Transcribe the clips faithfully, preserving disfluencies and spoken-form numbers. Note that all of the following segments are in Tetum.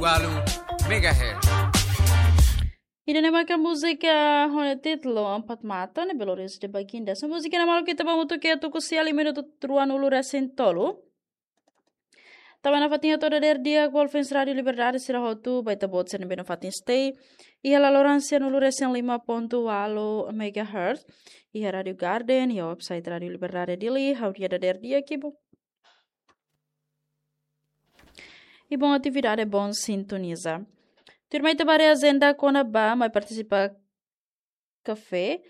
Walu megahertz. Ida-ne'e maka múzika ho nia títulu Empat Mata ne'ebé lori husi The Baginda. Múzika ne'e maluk ita ba hamutuk iha tuku sia liu minutu ruanulu resin tolu. Tanba nafatin hato'o dadeer di'ak ba ouvinte Rádio Liberdade sira hotu, ba ita-boot sira ne'ebé nafatin stay iha laloran sianulu resin lima pontu walu megahertz iha Rádio Garden, iha website Rádio Liberdade Dili, ha'u dehan dadeer di'ak, ki'ik. I bom atividade, bom sintoniza. Tuirmai ita ba haree ajenda kona-ba mai partisipa kafé,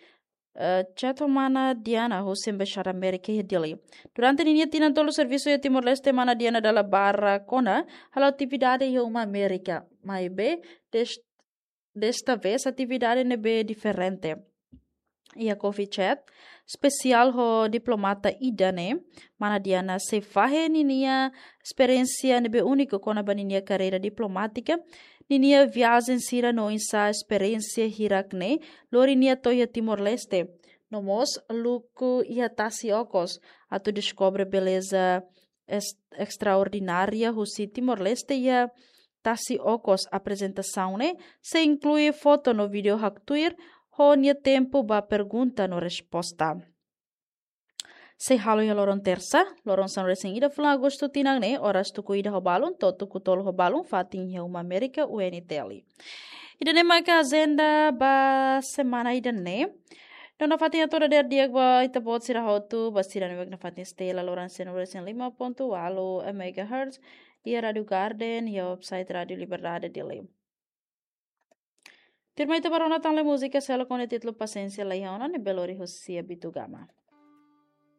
eh, Chat ho Mana Diana husi Embaixada Amérika iha Dili. Durante ninia tinan tolu servisu iha Timor-Leste, Mana Diana dala barak ona halo atividade iha uma Amérika. Maibé, des-, desta vez atividade ne'ebé diferente. Iha Coffee Chat espesiál ho diplomata ida-ne'e, Mana Diana sei fahe ninia esperiénsia ne'ebé úniku kona-ba ninia karreira diplomátika, ninia viajen sira no oinsá esperiénsia hirak-ne'e lori nia to'o iha Timor-Leste. No mós luku iha tasi okos atu deskobre beleza es-, estraordinária husi Timor-Leste iha tasi okos. Aprezentasaun ne'e sei inklui foto no vídeo haktuir ho nia tempu ba pergunta no resposta. Sei halo iha loron tersa, loron sanulu resin ida fulan Agostu tinan ne'e, oras tuku ida ho balun to'o tuku tolu ho balun, fatin iha uma Amérika U N T L. Ida-ne'e maka ajenda ba semana ida-ne'e. No nafatin hato'o dadeer di'ak ba ita-boot sira hotu, ba sira ne'ebé nafatin stay iha laloran sianulu resin lima pontu walu megahertz iha Rádio Garden, iha website Rádio Liberdade Dili. Tuirmai ita ba rona tan lai múzika seluk ho nia títulu Pasiénsia Laiha Ona ne'ebé lori husi Abito Gama.